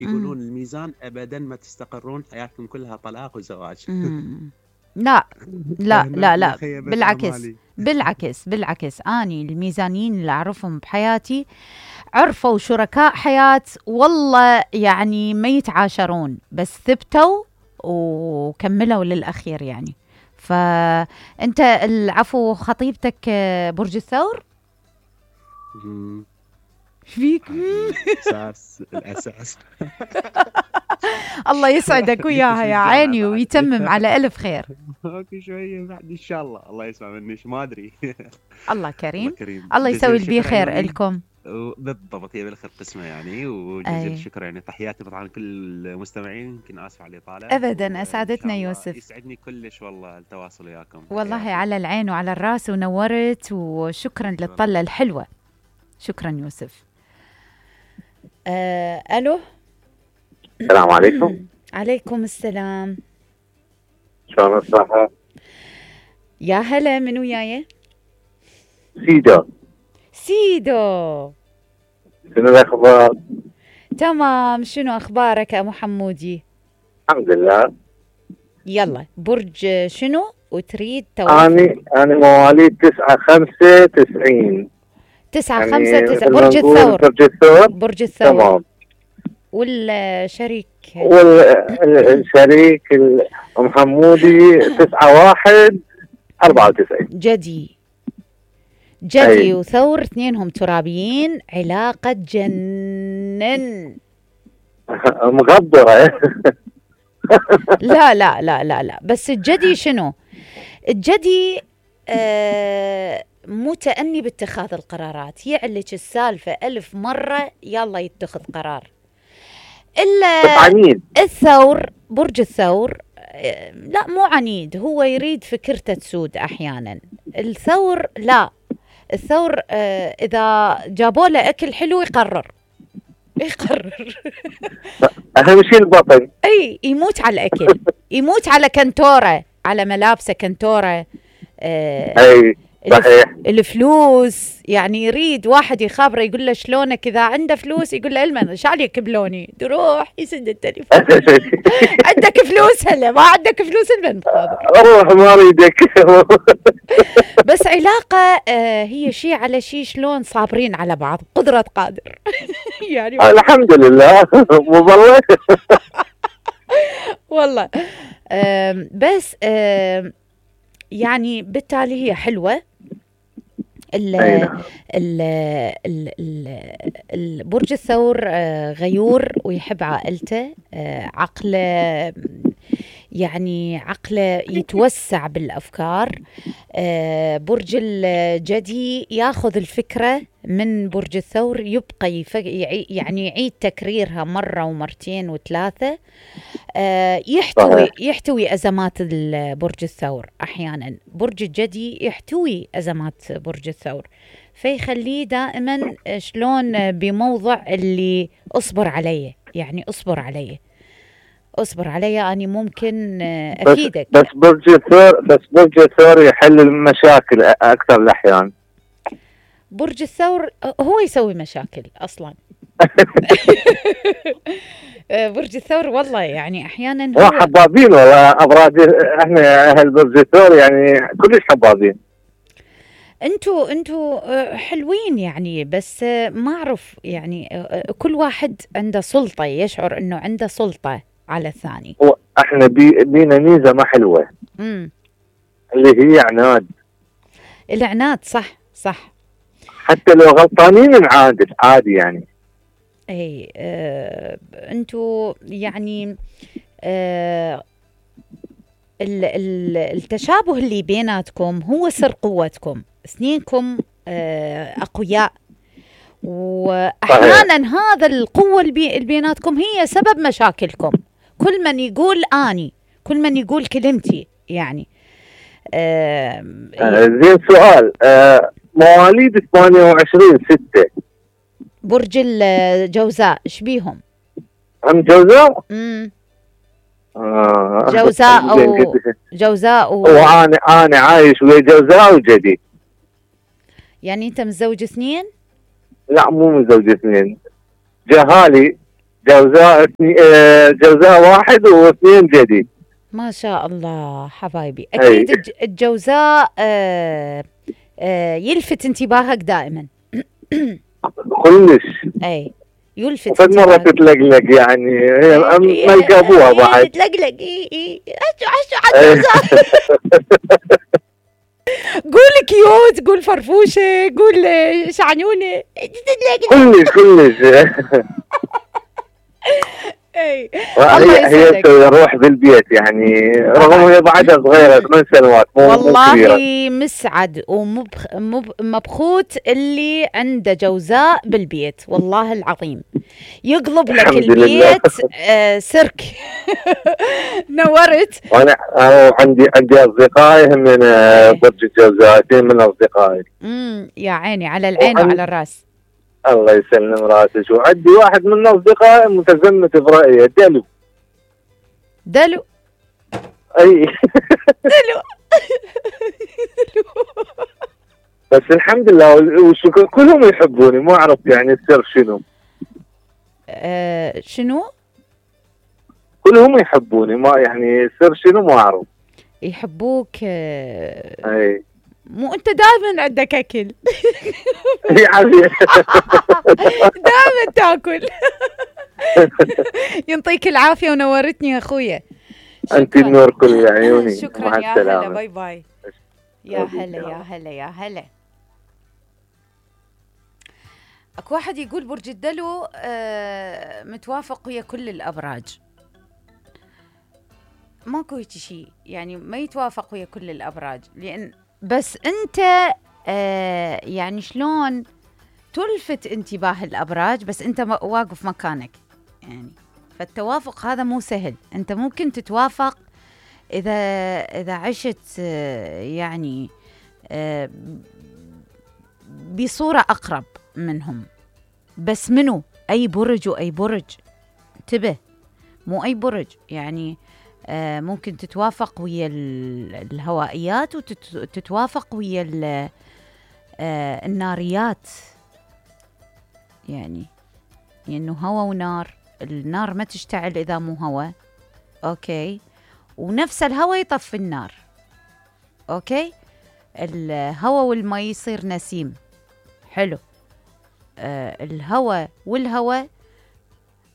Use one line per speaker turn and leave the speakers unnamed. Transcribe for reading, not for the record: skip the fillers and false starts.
يقولون الميزان ابدا ما تستقرون، حياتكم كلها طلاق وزواج.
لا لا لا لا،
خيبة
بالعكس
آمالي.
بالعكس اني الميزانيين اللي اعرفهم بحياتي عرفوا شركاء حياة والله يعني ما يتعاشرون، بس ثبتوا وكملوا للأخير يعني. فأنت العفو خطيبتك برج الثور؟ فيك
الأساس.
الله يسعدك وياها يا عيني ويتمم على ألف خير.
اوكي شوية بعد ان شاء الله، الله يسمع مني ما ادري.
الله كريم. الله يسوي البي خير لكم.
بالضبط، هي بالخير قسمه يعني. وجزيل الشكر يعني، تحياتي طبعا كل المستمعين، يمكن اسف على الاطاله.
ابدا اسعدتنا يوسف،
يسعدني كلش والله التواصل وياكم.
والله على العين وعلى الراس ونورت، وشكرا للطله الحلوه. شكرا يوسف. الو،
السلام عليكم.
عليكم السلام.
شلون الصحة؟
يا هلا، من وياي؟ سيدو.
شنو الأخبار؟
تمام، شنو أخبارك يا أبو حمودي؟
الحمد لله.
يلا، برج شنو وتريد توافق؟
أنا مواليد 9/5/90.
9/5/9. برج الثور. برج الثور.
تمام.
والشريك
أم حمودي 9/1/94.
جدي وثور، اثنينهم ترابيين، علاقة جنن.
مغبرة.
لا لا لا لا لا، بس الجدي شنو؟ الجدي متأني باتخاذ القرارات، يعلج السالفة 1000 مرة يلا يتخذ قرار. إلا الثور، برج الثور لا مو عنيد، هو يريد فكرته تسود أحيانا. الثور لا، الثور إذا جابوا له أكل حلو يقرر.
أهم شيء البطن.
أي يموت على الأكل، يموت على كنتورة، على ملابسه كنتورة.
أي صحيح.
الفلوس يعني يريد واحد يخابره يقول له شلونك، إذا عنده فلوس يقول له المن شعليك بلوني، تروح يسد التليفون. عندك فلوس هلا، ما عندك فلوس المن
روح ما اريدك.
بس علاقة هي شيء على شيء، شلون صابرين على بعض، قدرة قادر. يعني
الحمد لله. والله
والله بس يعني بالتالي هي حلوة. البرج الثور غيور ويحب عائلته، عقله يعني عقله يتوسع بالأفكار. برج الجدي ياخذ الفكرة من برج الثور، يبقى يعني يعيد تكريرها مرة ومرتين وثلاثة. يحتوي أزمات برج الثور أحيانا. برج الجدي يحتوي أزمات برج الثور، فيخليه دائما شلون بموضع اللي أصبر عليه، يعني أصبر عليه أنا ممكن أفيدك.
بس برج الثور يحل المشاكل أكثر الأحيان.
برج الثور هو يسوي مشاكل أصلا. برج الثور والله يعني أحيانا
هو حبابين والله أبراج. إحنا أهل برج الثور يعني كلش حبابين.
انتوا حلوين يعني، بس ما أعرف يعني كل واحد عنده سلطة، يشعر إنه عنده سلطة على الثاني.
احنا بينا ميزه ما حلوه اللي هي عناد.
العناد صح. حتى
لو غلطانين نعادل عادي يعني.
اي انتوا يعني التشابه اللي بيناتكم هو سر قوتكم، اثنينكم اقوياء، واحيانا هذا القوه اللي بيناتكم هي سبب مشاكلكم. كل من يقول اني، كل من يقول كلمتي يعني.
زين سؤال، مواليد 28/6
برج الجوزاء ايش بيهم؟
ام جوزاء؟
جوزاء
وانا عايش ويا جوزاء وجدي.
يعني انت متزوج اثنين؟
لا مو متزوج اثنين، جوزاء واحد واثنين جديد.
ما شاء الله حبايبي. اكيد الجوزاء يلفت انتباهك دائما.
كلش.
اي يلفت
وفد مرة تتلقلق يعني، ملقى ابوها بعد
تتلقلق. اي عجوزاء. قول كيوت، قول فرفوشة، قول شعنونة.
كلش.
اي
هي روح بالبيت يعني، رغم هي بعدها صغيرة 8 سنوات
والله مسعد ومبخوت اللي عنده جوزاء بالبيت، والله العظيم يقلب لك البيت سيرك. نورت.
وانا عندي اصدقائي من برج الجوزاء، من اصدقائي.
يا عيني، على العين وعلى الراس.
الله يسلم راسك. وعندي واحد من اصدقائي متزمت برأيه، دلو. اي
دلو.
بس الحمد لله والشكر، كلهم يحبوني، ما اعرف يعني السر شنو.
شنو؟
كلهم يحبوني، ما يعني السر شنو ما اعرف.
يحبوك.
اي
مو انت دائما عندك اكل.
يعني
دائما تاكل. يعطيك العافيه ونورتني يا اخويا.
انت النور كل عيوني.
شكرا يا هلا. باي باي. يا هلا. اكو واحد يقول برج الدلو متوافق ويا كل الابراج. ماكو هيك شيء يعني، ما يتوافق ويا كل الابراج، لان بس انت يعني شلون تلفت انتباه الابراج، بس انت واقف مكانك يعني. فالتوافق هذا مو سهل. انت ممكن تتوافق اذا عشت يعني بصورة اقرب منهم. بس منو؟ اي برج واي برج، انتبه، مو اي برج يعني. ممكن تتوافق ويا الهوائيات وتتوافق ويا الناريات يعني انه هوا ونار. النار ما تشتعل اذا مو هوا، اوكي، ونفس الهوا يطفي النار، اوكي. الهوا والماء يصير نسيم، حلو. الهوا والهوا